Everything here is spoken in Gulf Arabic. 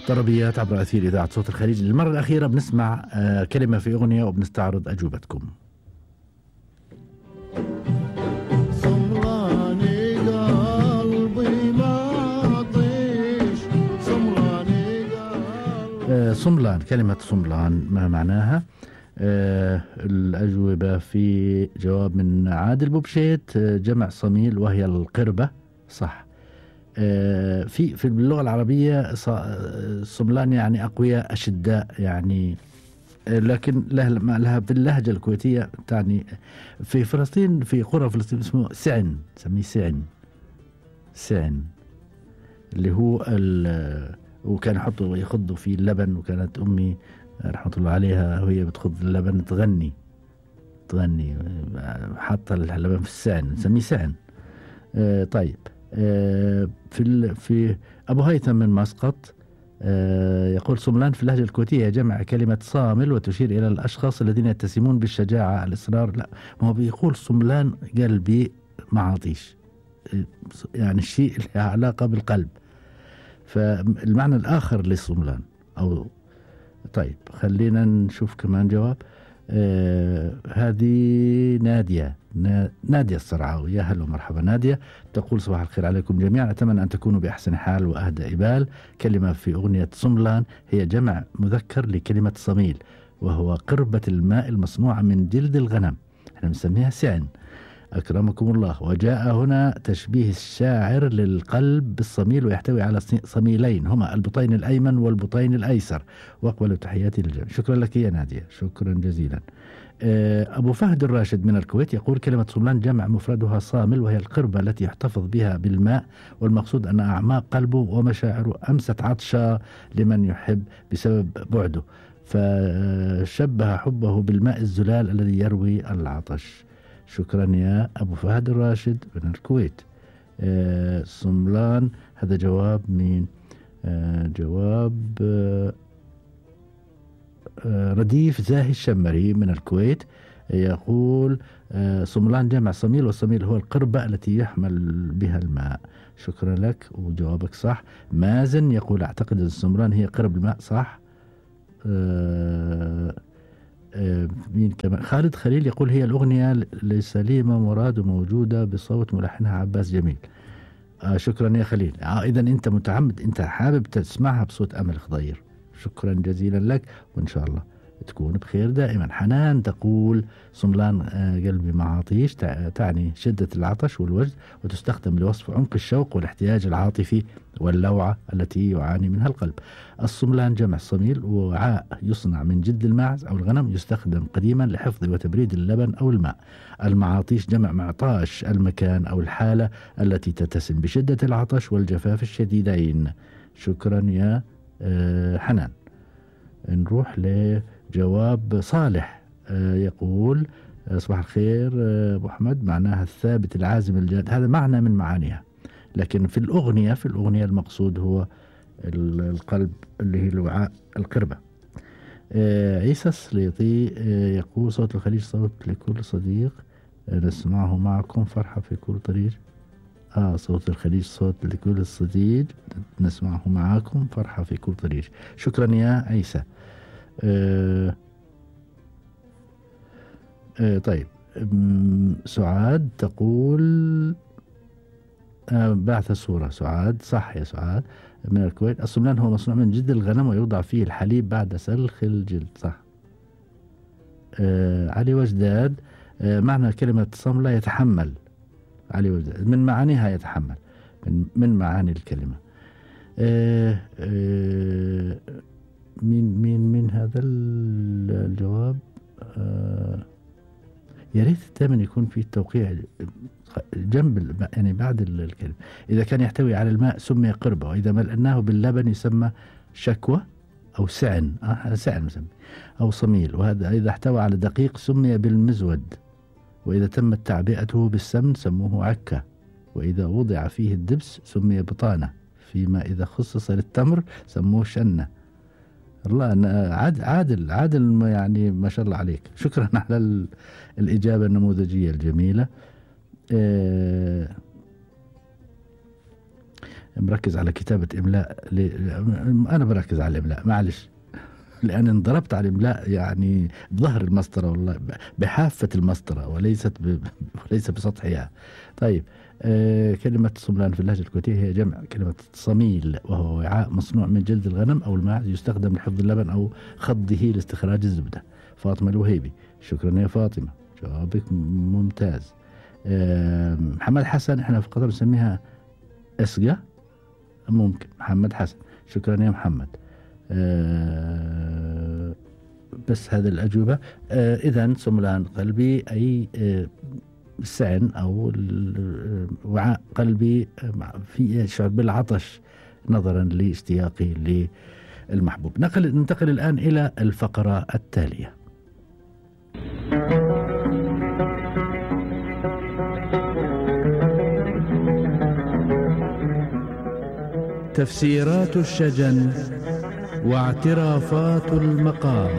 طربيات عبر أثير إذاعة صوت الخليج. للمرة الأخيرة بنسمع كلمة في أغنية وبنستعرض أجوبتكم. صملاني قلبي ما طيش، صملاني قلبي. صملان، كلمة صملان ما معناها؟ الأجوبة في جواب من عادل بوبشيت، جمع صميل وهي القربة، صح. في اللغة العربية صملان يعني أقوياء أشداء يعني، لكن لها في اللهجة الكويتية تعني. في فلسطين في قرى فلسطين اسمه سعن، سميه سعن اللي هو وكان يخضوا فيه اللبن، وكانت أمي رحمة الله عليها وهي بتخض اللبن تغني حاطة اللبن في السعن، نسميه سعن. طيب، في أبو هيثم من مسقط يقول صملان في اللهجة الكويتية جمع كلمة صامل وتشير إلى الأشخاص الذين يتسمون بالشجاعة، الإصرار. لا، ما هو بيقول صملان قلبي معاطيش، يعني الشيء اللي له علاقة بالقلب، فالمعنى الآخر للصملان أو. طيب خلينا نشوف كمان جواب. هذه نادية الصرعاوي، يا هلا ومرحبا نادية. تقول صباح الخير عليكم جميعا، أتمنى أن تكونوا بأحسن حال وأهدى إبال. كلمة في أغنية صملان هي جمع مذكر لكلمة صميل، وهو قربة الماء المصنوعة من جلد الغنم، احنا بنسميها سعن أكرمكم الله. وجاء هنا تشبيه الشاعر للقلب بالصميل، ويحتوي على صميلين هما البطين الأيمن والبطين الأيسر. وأقبل تحياتي للجميع. شكرا لك يا نادية، شكرا جزيلا. أبو فهد الراشد من الكويت يقول كلمة صملان جمع مفردها صامل، وهي القربة التي يحتفظ بها بالماء، والمقصود أن أعماق قلبه ومشاعره أمست عطشا لمن يحب بسبب بعده، فشبه حبه بالماء الزلال الذي يروي العطش. شكرا يا أبو فهد الراشد من الكويت. صملان، هذا جواب من جواب رديف زاهي الشمري من الكويت. يقول صملان جمع صميل، والصميل هو القربة التي يحمل بها الماء. شكرا لك وجوابك صح. مازن يقول أعتقد أن الصملان هي قرب الماء، صح. مين كمان؟ خالد خليل يقول هي الأغنية لسليمة مراد وموجودة بصوت ملحنها عباس جميل. شكرا يا خليل. إذا أنت متعمد، أنت حابب تسمعها بصوت أمل خضير. شكرا جزيلا لك، وإن شاء الله تكون بخير دائما. حنان تقول صملان قلبي معاطيش تعني شدة العطش والوجد، وتستخدم لوصف عمق الشوق والاحتياج العاطفي واللوعة التي يعاني منها القلب. الصملان جمع صميل، وعاء يصنع من جلد الماعز أو الغنم، يستخدم قديما لحفظ وتبريد اللبن أو الماء. المعاطيش جمع معطاش، المكان أو الحالة التي تتسم بشدة العطش والجفاف الشديدين. شكرا يا حنان. نروح لجواب صالح. يقول صباح الخير أبو أحمد، معناها الثابت العازم الجاد. هذا معنى من معانيها، لكن في الأغنية المقصود هو القلب اللي هي الوعاء، القربة. عيسى السليطي يقول صوت الخليج صوت لكل صديق نسمعه معكم، فرحة في كل طريق. صوت الخليج صوت لكل صديق نسمعه معاكم، فرحة في كل طريق. شكرا يا عيسى. طيب، سعاد تقول بعث الصورة. سعاد صح يا سعاد من الكويت. الصملان هو مصنوع من جلد الغنم ويوضع فيه الحليب بعد سلخ الجلد، صح. علي وجداد، معنى كلمة صملة يتحمل. علي وجداد من معانيها يتحمل، من معاني الكلمة. من هذا الجواب. يا ريت دائما يكون في توقيع جنب يعني بعد الكلمة. إذا كان يحتوي على الماء سمي قربة، وإذا ملأناه باللبن يسمى شكوى أو سعن، سعن مسمي أو صميل. وهذا إذا احتوى على دقيق سمي بالمزود، وإذا تمت تعبئته بالسمن سموه عكة، وإذا وضع فيه الدبس سمي بطانة، فيما إذا خصص للتمر سموه شنة. الله، عادل يعني ما شاء الله عليك. شكرا على الإجابة النموذجية الجميلة. مركز على كتابة إملاء أنا بركز على الإملاء معلش، لأن انضربت على الإملاء يعني بظهر المسطرة والله، بحافة المسطرة وليس بسطحها. طيب كلمة صملان في اللهجة الكويتية هي جمع كلمة صميل، وهو وعاء مصنوع من جلد الغنم أو الماعز يستخدم لحفظ اللبن أو خضه لاستخراج الزبدة. فاطمة الوهيبي، شكرا يا فاطمة، جوابك ممتاز. محمد حسن، احنا في قطر نسميها اسقة، ممكن محمد حسن، شكرا يا محمد. بس هذه الأجوبة. إذن صملان قلبي أي السعن أو وعاء قلبي في يشعر بالعطش نظرا لاشتياقي للمحبوب. ننتقل الآن إلى الفقرة التالية. تفسيرات الشجن واعترافات المقام.